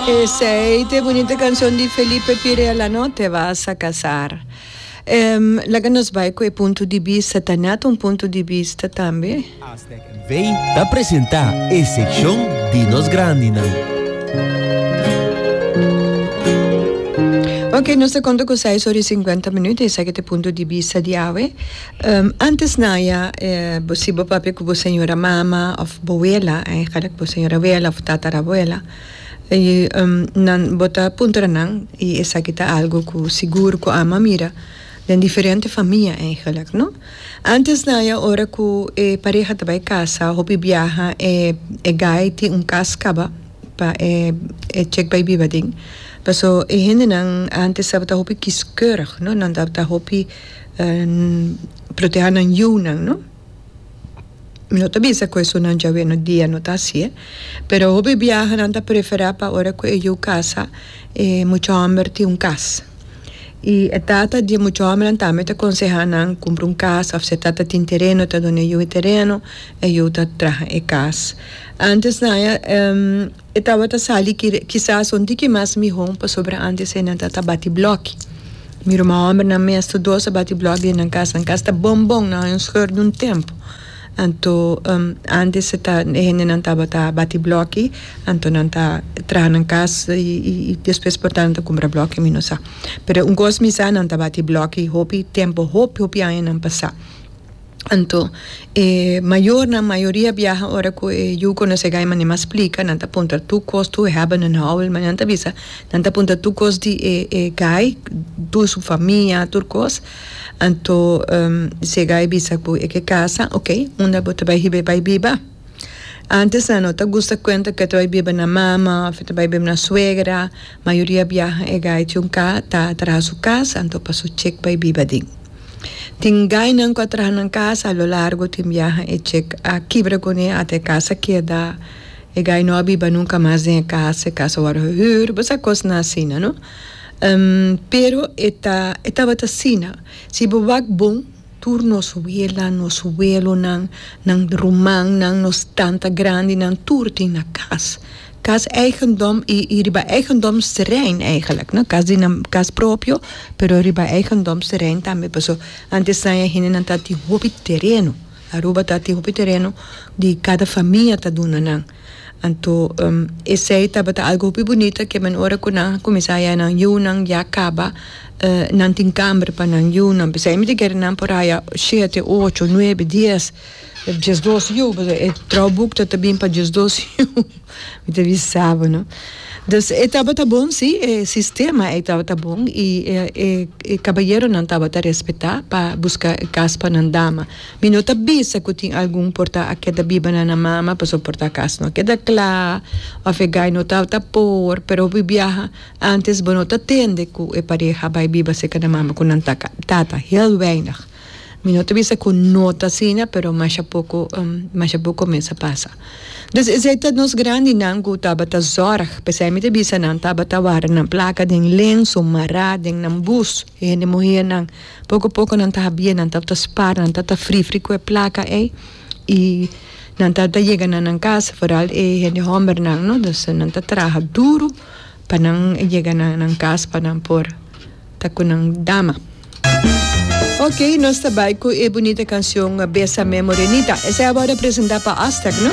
Esey ta e bunita cancion di Felipe Pirela no te vas a casar. Laga nos bay cu e punto di bista ta net un punto di bista tambe. Aztec NV ta presenta e seccion di nos grandinan. Ok, nos ta konta ku seis ora i sinkuenta minuut, esaki ta e punto di bista di awe. Antes na ya bo si bo papia ku bo señora mama òf bo wela, eigenlijk bo señora wela òf tatarabuela, i nan bo ta puntra nan i esaki ta algu ku sigur ku ama mira den diferente famia eigenlijk no. Antes na ya ora ku e pareha ta bai kasa hopi biaha e e gai tin un kas kaba pa e e chek bai biba den paso e hendenan antes tabata hopi kiskeurig no nan tabata hopi proteha nan yunan no. Mi no ta bisa ku esunnan djawe no dia no ta hasié, pero hopi biaha nan ta preferá pa ora ku e yu kasa e mucha hòmber tin un kas. I e tata di e mucha hòmbernan tambe ta konsehá nan kumpra un kas òf si e tata tin tereno ta duna e yu e tereno, e yu ta traha e kas. Ántes nan ya e tabata sali kisas un tiki mas mihó pasobra ántes e nan ta bati blòki. Mi ruman hòmbernan mes tur dos a bati blòk den nan kas. Nan kas ta bon bon, nan haña un scheur di un tempu. Anto ántes e ta e hendenan tabata bati blòki, anto nan ta traha nan kas i despues por ta nan ta kumpra blòki, mi no sa. Pero un kos mi sa, nan ta bati blòki hopi tempu, hopi hopi añanan pasá. Anto e mayornan mayoria biaha ora ku e yu konosé gai manera mas splika nan ta puntra tur kos tur hebben en houden manera nan ta bisa nan ta puntra tur kos di e e gai tur su famia tur kos anto si e gai bisa ku e ke kasa oke unda bo ta bai hiba e bai biba antes nan no ta gusta kuenta ku e ta bai biba na mama òf e ta bai biba na suegra mayoria biaha e gai tin un ka ta traha su kas anto pa su chek bai biba aden. Tin gainan ku a traha nan kas a lo largo tin biaha e chek a kibra kuné ata e kas a keda e gai no a biba nunka mas den e kas e kas a wòrdu gehuur bo sa kosnan asina no pero e ta e tabata asina si bo wak bon tur nos wela nos welonan nan rumannan nos tanta grandinan tur tin na kas. Kas eigendom i i riba eigendomsterrein eigenlijk no, kas di nan kas propio pero riba eigendomsterrein tambe paso antes nan e hendenan ta tin hopi tereno Aruba ta tin hopi tereno di kada famia ta duna nan anto esei tabata algo hopi bunita ke men ora ku nan a kuminsá haya nan yunan ya kaba nan tin kamber pa nan yunan p'esei mi ta kere nan por haya shete ocho nuebe dies. Diesdos yu, pasobra e trouwboek ta ta bin pa diesdos yu. Mi ta bisa bo, no. Dus e tabata bon, si, e sistema ei tabata bon i e e e kabayeronan tabata respetá pa buska e kas pa nan dama. Mi no ta bisa ku tin algun por ta a keda biba na nan mama pasobra por ta kas no a keda kla òf e gai no tabata por, pero hopi biaha ántes bo no ta tende ku e pareha bai biba serka nan mama ku nan tata, heel weinig. Mi no ta bisa ku no ta asina, pero masha poko, masha poko mes a pasa. Dus esei ta nos grandinan ku tabata zòrg. P'esei mi ta bisa nan tabata wara nan plaka den lenso mará den nan bus, e hende muhernan. Poko poko nan ta habié, nan tabata spar, nan tabata frifri ku e plaka ei i nan tabata yega na nan kas, foral e hende hòmbernan, no. Dus nan ta traha duru pa nan yega na nan kas pa nan por ta ku nan dama. Ok, nos ta bai ku e bunita kanshon Bésame Morenita. Esei a wòrdu presentá pa Aztec, no?